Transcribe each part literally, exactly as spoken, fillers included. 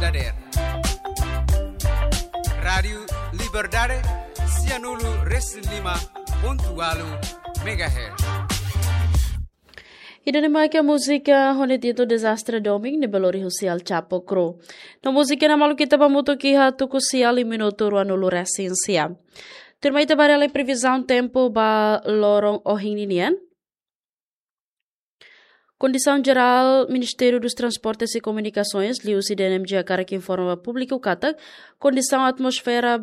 dadeer. Rádiu Liberdade, sianulu resin lima pontu walu megahertz. Ida-ne'e mak múzika ho nia títulu Dezastre Domin ne'ebé lori husi El Chapo Crew. No múzika ne'e maluk ita ba hamutuk iha tuku sia liu minutu ruanulu resin sia. Tuirmai ita ba haree lai previzaun tempu ba loron ohin ninian. Kondisaun jerál Ministériu dos Transportes e Komunikasoens, liuhusi D N M G, hakarak informa ba públiku katak kondisaun atmosfera,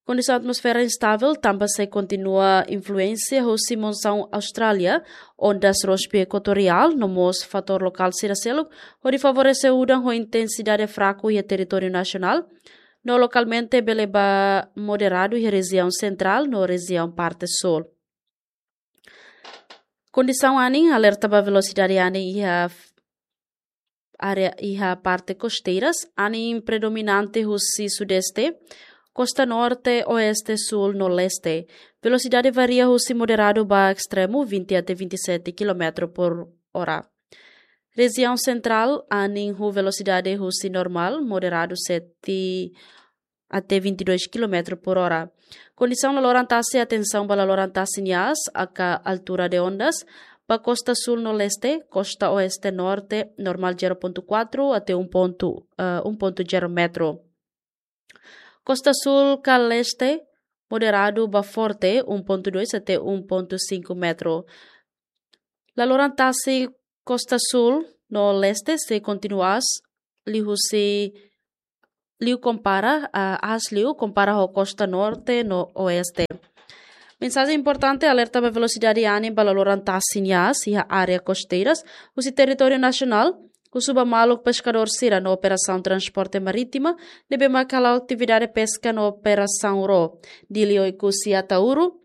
kondisaun atmosfera instável tanba sei kontinua influénsia husi monsaun Austrália, ondas róspiyu ekuatoriál, no mós fatór lokál sira seluk, hodi favorese udan ho intensidade fraku iha territóriu nasionál, no lokalmente bele ba moderadu iha rejiaun sentrál no rejiaun parte súl. Kondisaun anin, alerta ba velosidade anin iha f-, área iha parte kosteiras, anin predominante husi sudeste, kosta norte, oeste, súl no leste. Velosidade varia husi moderadu ba estremu, vinte até vinte e sete quilómetro por hora. Rejiaun sentrál, anin ho velosidade husi normál, moderadu, sete até vinte e dois quilómetro por hora. Kondisaun laloran tasi, atensaun ba laloran tasi nia aas, aka altura de ondas, ba kosta súl no leste, kosta oeste norte, normál zero ponto quatro até um ponto, eh, um ponto zero metro. Kosta súl ka leste, moderadu ba forte, um ponto dois até um ponto cinco metro. Laloran tasi kosta súl no leste sei kontinua aas liuhusi, liu kompara, ah, aas liu kompara ho kosta norte no oeste. Mensajen importante, alerta ba velosidade anin ba laloran tasi nia aas iha área kosteiras husi territóriu nasionál, husu ba maluk peskadór sira no operasaun transporte marítima ne'ebé mak hala'o atividade peska no operasaun ró, Dili, Oekusi, Ataúru,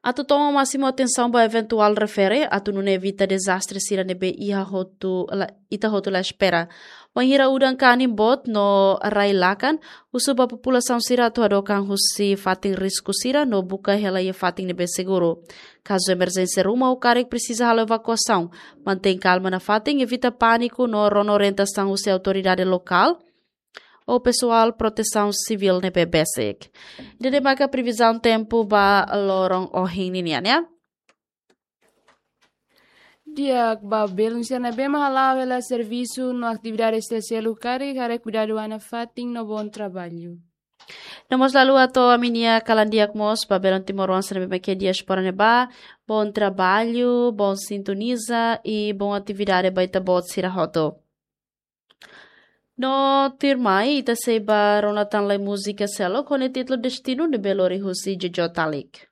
atu toma másimu atensaun ba eventuál refere, atu nune'e evita dezastre sira ne'ebé iha hotu la, ita hotu la espera. Wainhira udan ka anin boot no rai lakan, husu ba populasaun sira atu hadokan husi fatin risku sira no buka hela iha fatin ne'ebé seguru. Kazu emerjénsia ruma ou karik presiza halo evakuasaun, mantein kalma nafatin, evita pániku no rona orientasaun husi autoridade lokál ou pesoál protesaun sivíl ne'ebé besik. Ida-ne'e maka previzaun tempu ba loron ohin ninian, ya. Di'ak, ba belun sira ne'ebé mak hala'o hela servisu no atividade sira seluk karik, haree kuidadu ona fatin no bom trabalho. No mós la haluha atu ami-nia kalan di'ak mós ba belun timoroan sira ne'ebé mak iha diáspora ne'ebá, bom trabalho, bom sintoniza i bom atividade ba ita-boot sira hotu. No tuirmai, ita sei ba rona tan lai múzika seluk ho nia títulu Destinu ne'ebé lori husi Jojo Talik.